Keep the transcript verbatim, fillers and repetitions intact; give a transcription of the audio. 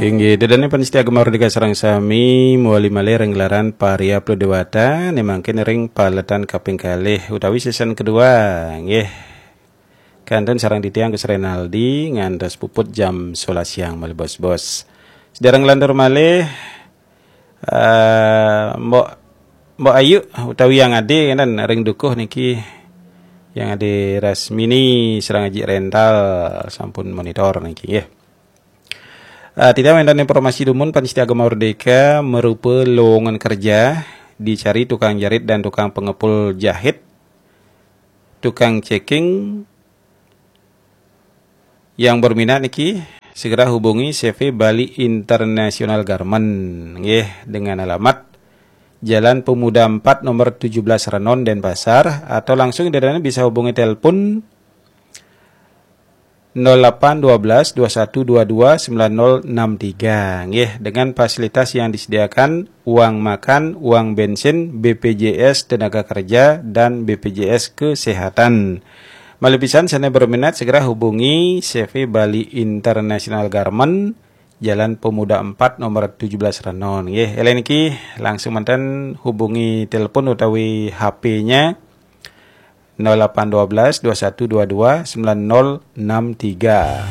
Inggih, ida dané pamiarsa Gema Merdeka sareng sami, mawali malih ring gelaran Pariabdo Dewata, né mangkin ring paletan kaping kalih utawi season kedua, nggih. Kantun sareng titiang Gus Renaldi ngantos puput jam sebelas siang malih bos-bos. Sedereng nglantur malih, eh, Mbok, Mbok Ayu utawi Yang Ade, ngénten, ring dukuh niki, Yang Ade Rasmini sareng Aji Rental sampun monitor niki, nggih. Eh, titiang wénten informasi dumun, pamiarsa Gema Merdeka, marupa lowongan kerja, dicari tukang jahit dan tukang pengepul jahit, tukang ceking. Yang berminat niki segera hubungi C V Bali International Garment, nggih, dengan alamat Jalan Pemuda empat, nomor tujuh belas, Renon, Denpasar, atau langsung ida dané bisa hubungi telepon nol delapan dua belas dua satu dua dua sembilan nol enam tiga. Nggih, dengan fasilitas yang disediakan, uang makan, uang bensin, B P J S tenaga kerja, dan B P J S kesehatan. Malih pisan sané berminat segera hubungi C V Bali International Garment, Jalan Pemuda empat, nomor tujuh belas, Renon. Nggih, éling niki, langsung manten hubungi telepon utawi H P-nya nol delapan dua belas dua satu dua dua sembilan nol enam tiga.